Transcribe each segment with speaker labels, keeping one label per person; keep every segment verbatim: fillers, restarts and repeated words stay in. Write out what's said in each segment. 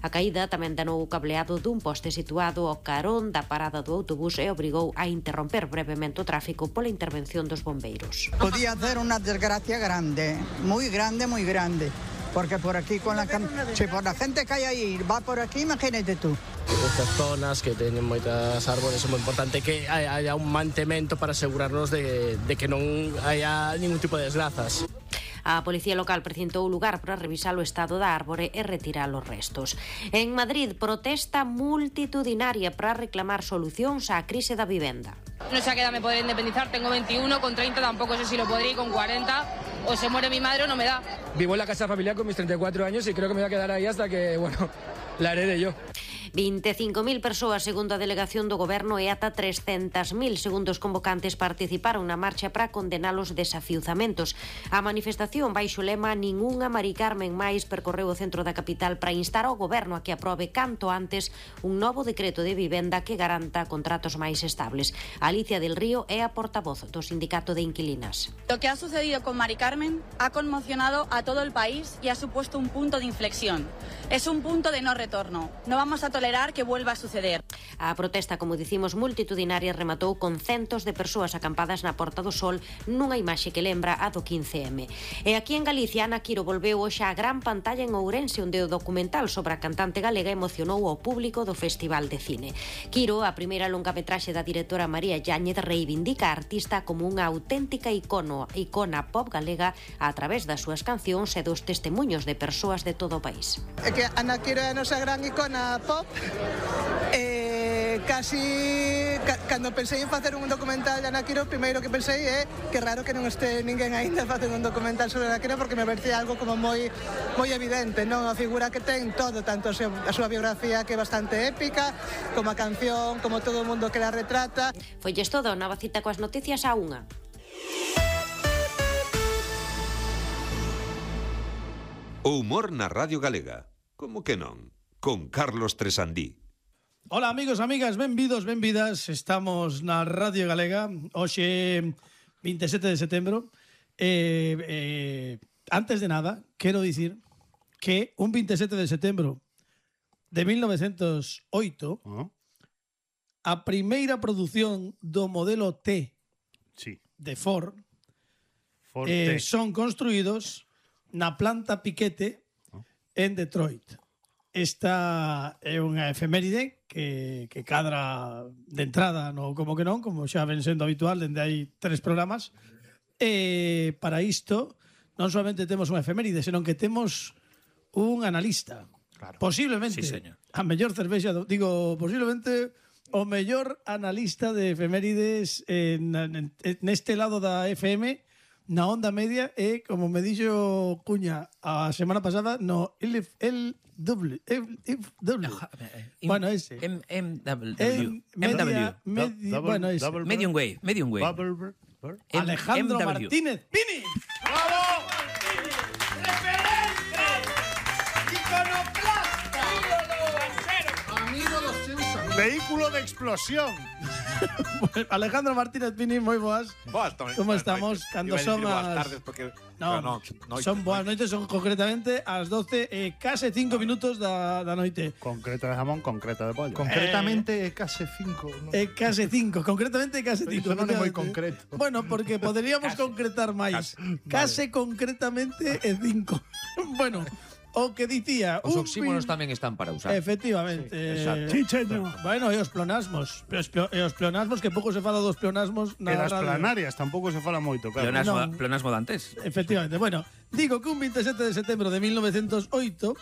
Speaker 1: A caída tamén danou o cableado dun poste situado ao carón da parada do autobús e obrigou a interromper brevemente o tráfico pola intervención dos bombeiros.
Speaker 2: Podía hacer unha desgracia grande, moi grande, moi grande. Porque por aquí, con la, si por la gente que hai aí va por aquí, imagínate tú.
Speaker 3: Estas zonas que teñen moitas árbores é moi importante que haya un mantemento para asegurarnos de, de que non haya ningún tipo de desgrazas.
Speaker 1: A Policía Local precintou o lugar para revisar o estado da árbore e retirar os restos. En Madrid, protesta multitudinaria para reclamar solucións á crise da vivenda.
Speaker 4: No sé a qué edad me podré independizar, tengo veintiuno, con treinta tampoco sé si lo podré, y con cuarenta o se muere mi madre o no me da.
Speaker 5: Vivo en la casa familiar con mis treinta y cuatro años y creo que me voy a quedar ahí hasta que, bueno, la herede yo.
Speaker 1: veinticinco mil persoas, segundo a delegación do Goberno, e ata trescentos mil, segundo os convocantes, participaron na marcha para condenar os desafiuzamentos. A manifestación baixo o lema "Ningunha Mari Carmen máis" percorreu o centro da capital para instar ao Goberno a que aprobe canto antes un novo decreto de vivenda que garanta contratos máis estables. Alicia del Río é a portavoz do Sindicato de Inquilinas.
Speaker 6: Lo que ha sucedido con Mari Carmen ha conmocionado a todo el país y ha supuesto un punto de inflexión. Es un punto de no retorno. No vamos a tolerar que vuelva a suceder.
Speaker 1: A protesta, como dicimos, multitudinaria rematou con centos de persoas acampadas na Porta do Sol nunha imaxe que lembra a do quince eme. E aquí en Galicia, Ana Quiro volveu hoxe á gran pantalla en Ourense, onde o documental sobre a cantante galega emocionou ao público do Festival de Cine. Quiro, a primeira longametraxe da directora María Yáñez, reivindica a artista como unha auténtica icono, icona pop galega a través das súas cancións e dos testemuños de persoas de todo o país.
Speaker 7: É que Ana Quiro é a nosa gran icona pop. Eh, casi ca, cando pensei en facer un documental de Ana Quiro, o primeiro que pensei é que raro que non este ninguén aínda facendo un documental sobre Ana Quiro, porque me parecía algo como moi moi evidente, non? A figura que ten todo, tanto a súa biografía, que é bastante épica, como a canción, como todo o mundo que la retrata.
Speaker 1: Foilles todo, nova cita coas noticias a unha.
Speaker 8: O humor na Radio Galega. Como que non? Con Carlos Tresandí.
Speaker 9: Hola amigos, amigas, benvidos, benvidas. Estamos na Radio Galega. Hoxe veintisiete de setembro. eh, eh, Antes de nada, quero dicir que un veintisiete de setembro de mil novecientos oito, uh-huh, a primeira produción do modelo T, sí, de Ford, Ford eh, son construídos na planta Piquete en Detroit. Esta é unha efeméride que, que cadra de entrada no como que non, como xa ven sendo habitual dende hai tres programas. E para isto non solamente temos unha efeméride, senón que temos un analista. Claro. Posiblemente, sí, a mellor cervexa, do, digo, posiblemente o mellor analista de efemérides en, en, neste lado da F M, na onda media, e como me dixo Cuña a semana pasada, no L W. Bueno, ese.
Speaker 10: M W. Bueno, ese. Medium Wave. Medium Wave.
Speaker 9: Alejandro Martínez Pini.
Speaker 11: ¡Bravo! ¡Referente! ¡Iconoclasta! ¡Amigo dos seus amigos! ¡Vehículo de explosión!
Speaker 9: Alejandro Martínez Pini, moi boas.
Speaker 12: Boas, Tony.
Speaker 9: Como estamos? Cando son as...
Speaker 12: Boas tardes, porque...
Speaker 9: No, no, noites, son boas noites, son concretamente ás doce e case cinco minutos da, da noite.
Speaker 12: Concreta de jamón, concreta de pollo.
Speaker 11: Concretamente é case cinco. No?
Speaker 9: É case cinco, concretamente é case cinco.
Speaker 11: Iso non é moi concreto.
Speaker 9: Bueno, porque poderíamos concretar máis. Case, case vale. Concretamente é cinco. Bueno... O que dicía...
Speaker 10: Os oxímonos pin... tamén están para usar.
Speaker 9: Efectivamente.
Speaker 11: Sí, exacto. Chicheño.
Speaker 9: Bueno, e os plonasmos. E os plonasmos, que pouco se fala dos plonasmos na
Speaker 12: radio. E das
Speaker 9: radio.
Speaker 12: planarias tampouco se fala moito, claro.
Speaker 10: Plonasmo,
Speaker 9: no.
Speaker 10: Plonasmo dantes.
Speaker 9: Efectivamente. Bueno, digo que un veintisiete de setembro de mil novecientos oito,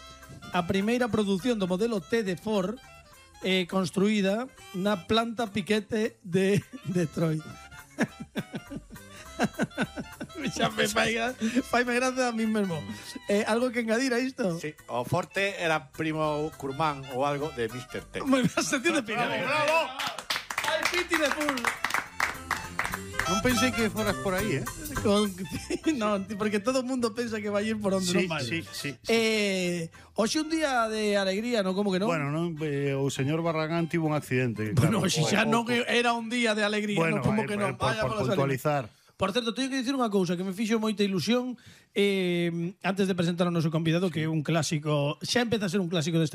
Speaker 9: a primeira produción do modelo T de Ford eh, construída na planta Piquete de Detroit. Xa me fai, faime gracia a mí mesmo. Eh, algo que engadir a isto?
Speaker 12: Sí, o Forte era primo Curmán ou algo de mister T.
Speaker 9: Me vas a sentir de picar.
Speaker 11: Bravo, bravo.
Speaker 9: Al piti de full.
Speaker 12: Non pensei que foras por aí, eh?
Speaker 9: Con, no, porque todo o mundo pensa que vai ir por onde
Speaker 12: sí,
Speaker 9: non vai.
Speaker 12: Sí, sí, sí.
Speaker 9: Eh, hoxe un día de alegría, non? Como que non?
Speaker 12: Bueno, non, eh, o señor Barragán tivo un accidente.
Speaker 9: Bueno,
Speaker 12: claro,
Speaker 9: xe xa non era un día de alegría,
Speaker 12: bueno,
Speaker 9: non? Como
Speaker 12: eh,
Speaker 9: que non?
Speaker 12: Por, por, por puntualizar.
Speaker 9: Por certo, teño que dicir unha cousa que me fixo moita ilusión eh, antes de presentar ao noso convidado, que é un clásico, xa empeza a ser un clásico deste